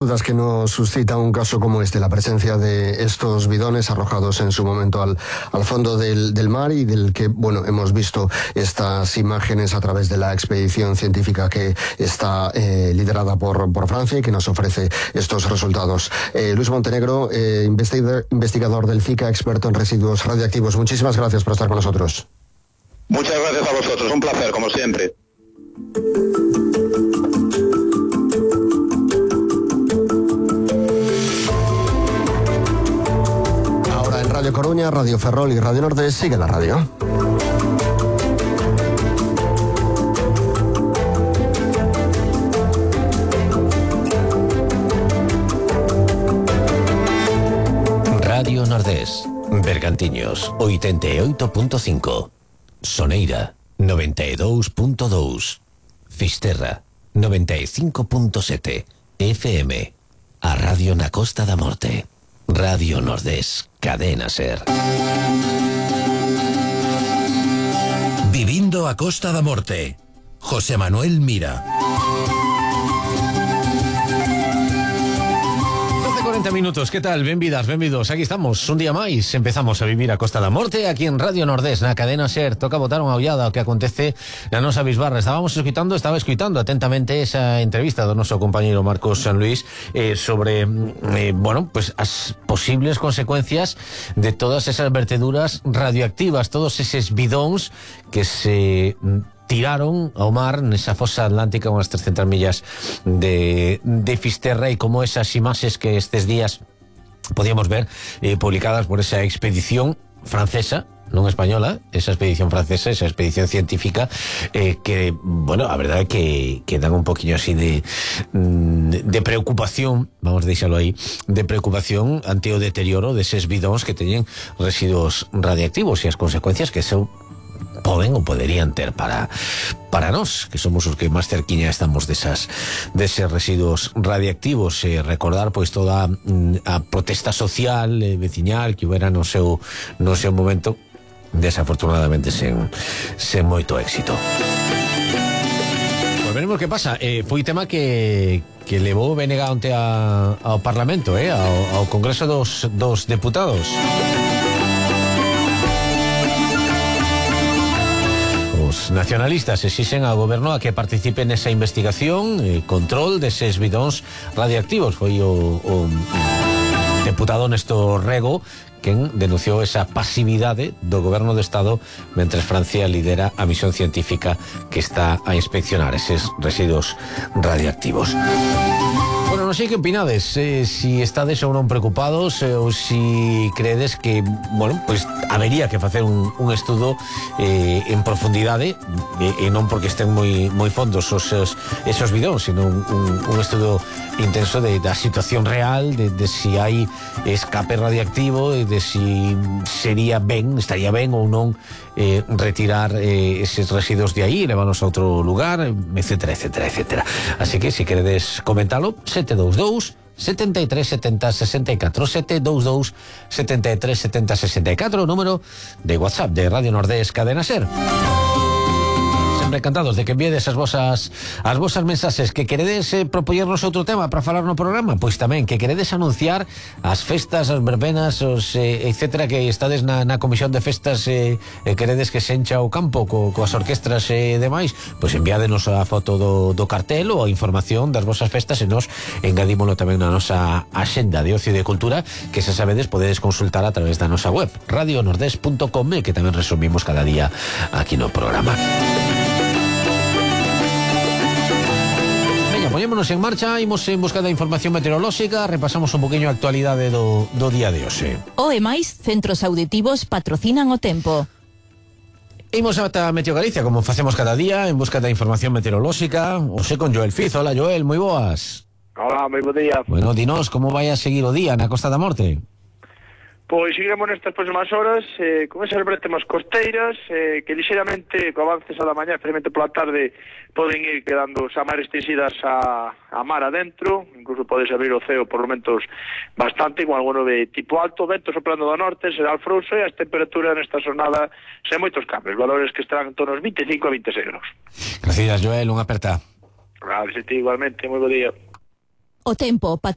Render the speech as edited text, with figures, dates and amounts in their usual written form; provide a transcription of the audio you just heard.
Dudas que nos suscita un caso como este, la presencia de estos bidones arrojados en su momento al fondo del mar y del que, bueno, hemos visto estas imágenes a través de la expedición científica que está liderada por Francia y que nos ofrece estos resultados. Luis Montenegro, investigador del FICA, experto en residuos radiactivos, muchísimas gracias por estar con nosotros. Muchas gracias a vosotros, un placer, como siempre. Radio Coruña, Radio Ferrol y Radio Nordés. Sigue la radio. Radio Nordés, Bergantiños 88.5, Soneira 92.2, Fisterra 95.7 FM, a Radio na Costa da Morte. Radio Nordés, Cadena Ser. Vivindo a Costa da Morte, José Manuel Mira. 40 minutos, ¿qué tal? Benvidas, benvidos. Aquí estamos, un día máis. Empezamos a vivir a Costa da Morte aquí en Radio Nordés, na Cadena Ser. Toca botar unha ollada o que acontece na nosa bisbarra. Estaba escuitando atentamente esa entrevista do noso compañeiro Marcos San Luis sobre, bueno, pues as posibles consecuencias de todas esas verteduras radioactivas, todos eses bidóns que se tiraron ao mar nesa fosa atlántica unhas 300 millas de Fisterra, e como esas imaxes que estes días podíamos ver publicadas por esa expedición francesa, non española, esa expedición francesa, esa expedición científica, que, bueno, a verdade que dan un poquinho así de preocupación, vamos a deixalo aí, de preocupación ante o deterioro deses bidóns que teñen residuos radiactivos e as consecuencias que eso poden ou poderían ter para nós, que somos os que máis cerquiña estamos deses residuos radiactivos. Recordar pois toda a protesta social veciñal que houbera no seu momento, desafortunadamente sen moito éxito. Pois veremos que pasa. Foi tema que levou BNG onte ao Parlamento, ao Congreso dos Deputados. Os nacionalistas exixen ao goberno a que participe nesa investigación e control deses bidóns radiactivos. Foi o deputado Néstor Rego quen denunciou esa pasividade do goberno do Estado mentres Francia lidera a misión científica que está a inspeccionar eses residuos radiactivos. Bueno, non sei que opinades, si estades ou non preocupados, ou si creedes que, bueno, pues habería que facer un estudo en profundidade, e non porque estén moi fondos esos bidóns, sino un estudo intenso da situación real, de si hai escape radiactivo, de si estaría ben ou non retirar eses residuos de aí, levános a outro lugar, etcétera, etcétera, etcétera. Así que, si queredes comentalo, 722 73 70 64, 722 73 70 64, o número de WhatsApp de Radio Nordés Cadena Ser. Sempre encantados de que envíedes as vosas mensaxes. Que queredes propoñernos outro tema para falar no programa? Pois tamén, que queredes anunciar as festas, as verbenas, etcétera, que estades na comisión de festas, queredes que se encha o campo coas orquestras e demais, pois enviádenos a foto do cartel ou a información das vosas festas e nos engadímolo tamén na nosa axenda de ocio e de cultura, que xa sabedes podedes consultar a través da nosa web radionordes.com, que tamén resumimos cada día aquí no programa. Poñémonos en marcha, imos en busca da información meteorolóxica, repasamos un poquinho a actualidade do día de hoxe. O e máis, centros auditivos patrocinan o tempo. Imos ata Meteo Galicia, como facemos cada día, en busca da información meteorolóxica. Hoxe con Joel Fiz. Hola, Joel, moi boas. Hola, moi bo día. Bueno, dinos, como vai a seguir o día na Costa da Morte? Pois seguiremos nestas próximas horas con esas bretemas costeiras que lixeramente, co avances a da mañá, especialmente pola tarde, poden ir quedando xa máis restringidas a mar adentro, incluso podes abrir o ceo por momentos bastante, con algo de tipo alto, vento soprando do norte, será alfrouxo, e as temperaturas nesta xornada sen moitos cambios, valores que estarán en torno aos 25 a 26 graus. Gracias, Joel, unha aperta. Gracias a ti igualmente, moi bo día. O tempo,